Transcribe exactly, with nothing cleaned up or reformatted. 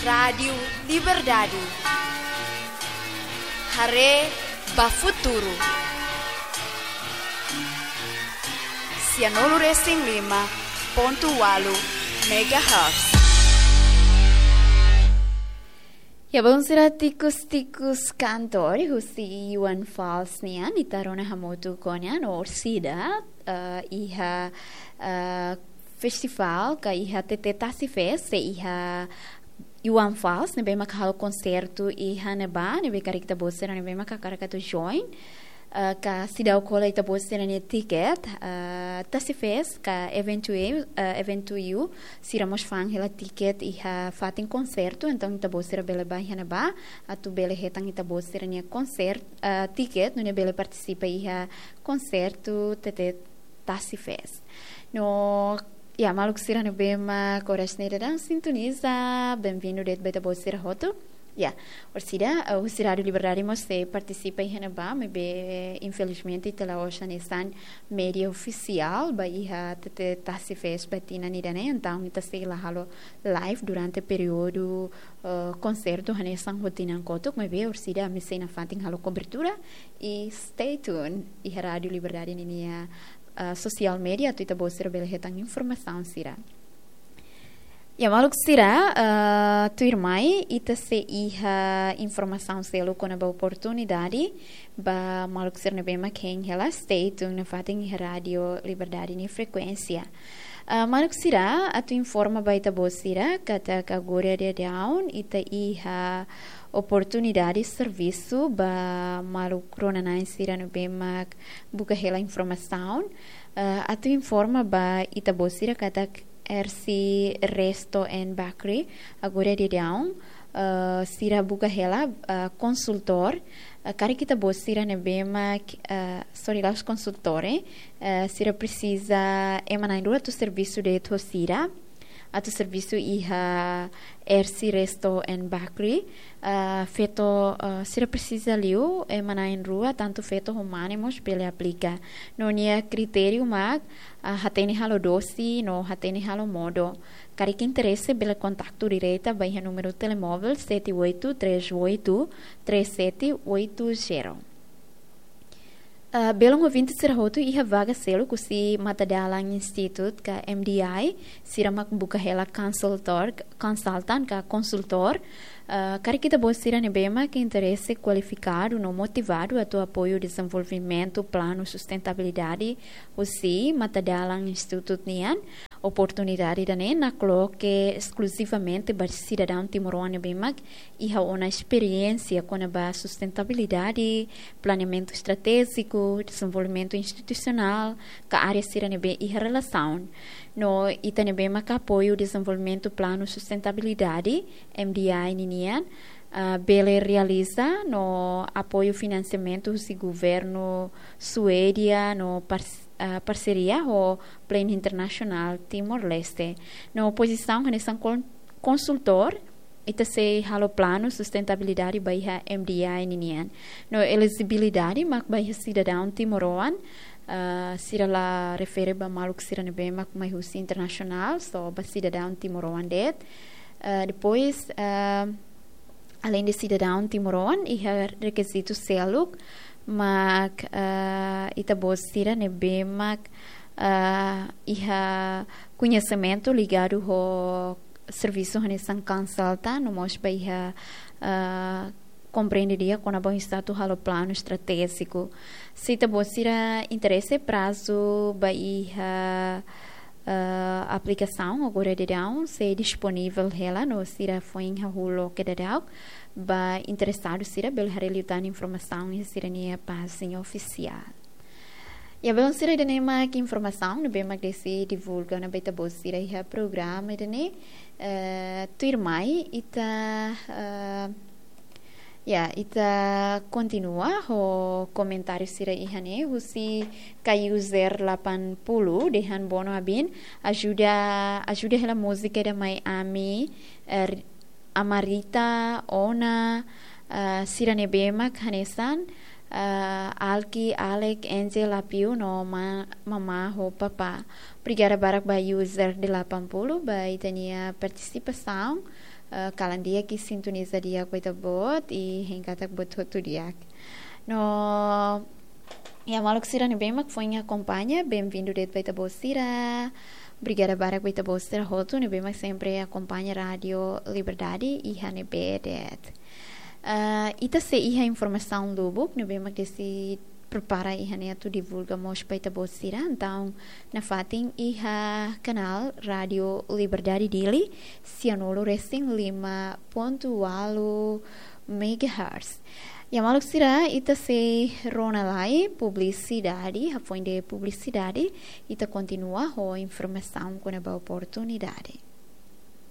Rádiu Liberdade. Haree ba futuru. Sianulu resin lima pontu ualu megahertz. Ya, bom, sira, tikus-tikus kantór husi Ioan Fals nian, ita rona hamutuk ona no orsida, eh, iha, eh, festivál ka iha T T Tasi Fest, sei iha Ioan Fals, ne'ebé maka halo konsertu iha ne'ebá, ne'ebé karik ita-boot sira ne'ebé maka hakarak atu join, eh, ka seidauk hola ita-boot sira-nia tiket, eh, Tasi Fest ka eventu, eh, eventu U, sira mós fa'an hela tiket iha fatin konsertu, entaun ita-boot sira bele bá iha ne'ebá, atu bele hetan ita-boot sira-nia konsert, eh, tiket, nune'e bele partisipa iha konsertu T T Tasi Fest. No, ya, maluk sira ne'ebé mak oras ne'e daudaun sintoniza, bem-vindo de'it ba ita-boot sira hotu. Ya, orsida, eh, husi Rádiu Liberdade mós sei partisipa iha ne'ebá, maibé, infelizmente, ita la'ós hanesan média ofisiál ba iha T T Tasi Fest ba tinan ida-ne'e, entaun ita sei la halo live durante períodu, eh, konsertu hanesan ho tinan kotuk, maibé orsida ami sei nafatin halo kobertura i stay tuned iha Rádiu Liberdade ninia, eh, social media, atu ita-boot sira bele hetan informasaun sira. Ya, maluk sira, eh, tuirmai, ita sei iha informasaun seluk kona-ba oportunidade ba maluk sira ne'ebé mak hein hela, stay tuned nafatin iha Rádiu Liberdade nia frekuénsia. Eh, maluk sira, atu informa ba ita-boot sira katak agora daudaun ita iha oportunidade servisu ba maluk rona-na'in sira ne'ebé mak buka hela informasaun. Eh, atu informa ba ita-boot sira katak R C Resto and Bakery, agora daudaun, eh, sira buka hela, eh, konsultór, eh, karik ita-boot sira ne'ebé mak, eh, sorry, la'ós konsultór, eh, eh, sira presiza ema na'in-rua atu servisu de'it ho sira, atu servisu iha R C Resto and Bakery, eh, feto, eh, sira presiza liu ema na'in-rua, tantu feto ho mane mós bele aplika. No nia kritériu mak, ah, hatene halo dose, no hatene halo modo. Karik interese bele kontaktu direta ba iha númeru telemóvel sete oito três oito três sete oito zero. Ah, belun ouvinte sira hotu, iha vaga seluk husi Matadalan Institute ka M D I, sira mak buka hela konsultór, consultant ka konsultór. Ah, karik ita-boot sira ne'ebé mak interese, kualifikadu no motivadu atu apoiu dezenvolvimentu planu sustentabilidade husi Matadalan Institute nian, oportunidade ida-ne'e nakloke eskluzivamente ba sidadaun timoroan ne'ebé mak iha ona esperiénsia kona-ba sustentabilidade, planeamentu estratéjiku, dezenvolvimentu institusionál, ka área sira ne'ebé iha relasaun. No ita ne'ebé maka apoiu dezenvolvimentu planu sustentabilidade, M D I ninian, ah, bele realiza no apoiu finansiamentu husi governu Suédia no pars-, ah, parseria ho Plano Internasionál Timor-Leste. No pozisaun hanesan kon-, konsultór, ita sei halo planu sustentabilidade ba iha M D I ninian. No elejibilidade mak ba iha sidadaun timoroan, ah, sira la refere ba maluk sira ne'ebé mak mai husi internasionál, só ba sidadaun timoroan de'it. Ah, depois, ah, além de sidadaun timoroan, iha rekizitu seluk mak, ah, ita-boot sira ne'ebé mak, ah, iha koñesimentu ligadu ho servisu hanesan konsulta, no mós ba iha, ah, komprende di'ak kona-ba oinsá atu halo planu estratéjiku. Se ita-boot sira interese, prazu ba iha, ah, aplikasaun agora daudaun sei disponivel hela, no sira foin hahú loke daudaun. Ba interesadu sira bele haree liután informasaun iha sira-nia pájina ofisiál. Ya, belun sira, ida-ne'e mak informasaun ne'ebé mak desi divulga ona ba ita-boot sira iha programa ida-ne'e. Eh, tuirmai ita, eh, ya, ita kontinua ho komentáriu sira iha ne'e, husi K U zero delapan puluh dehan: Bono Abin, ajuda, ajuda hela múzika ida mai ami, eh, Amarita, Ona, eh, sira ne'ebé mak hanesan, eh, Alki, Alek, Angel, Apiu no ma-, Mamá ho Papá. Obrigada barak ba user delapan puluh ba ita-nia partisipasaun. Eh, kalan di'ak i sintoniza di'ak ba ita-boot i hein katak buat hotu di'ak. No, iha maluk sira ne'ebé mak foin akompaña, benvindu de'it ba ita-boot sira. Obrigada barak ba ita-boot sira hotu ne'ebé mak sempre akompaña Rádiu Liberdade iha ne'ebé de'it. Eh, ita sei iha informasaun lubuk ne'ebé mak Desi prepara iha ne'e atu divulga mós ba ita-boot sira. Entaun, nafatin iha kanál Rádiu Liberdade Dili, sianulu-resin-lima pontu ualu megahertz. Iha maluk sira, ita sei rona lai publisidade, hafoin de publisidade, ita kontinua ho informasaun kona-ba oportunidade.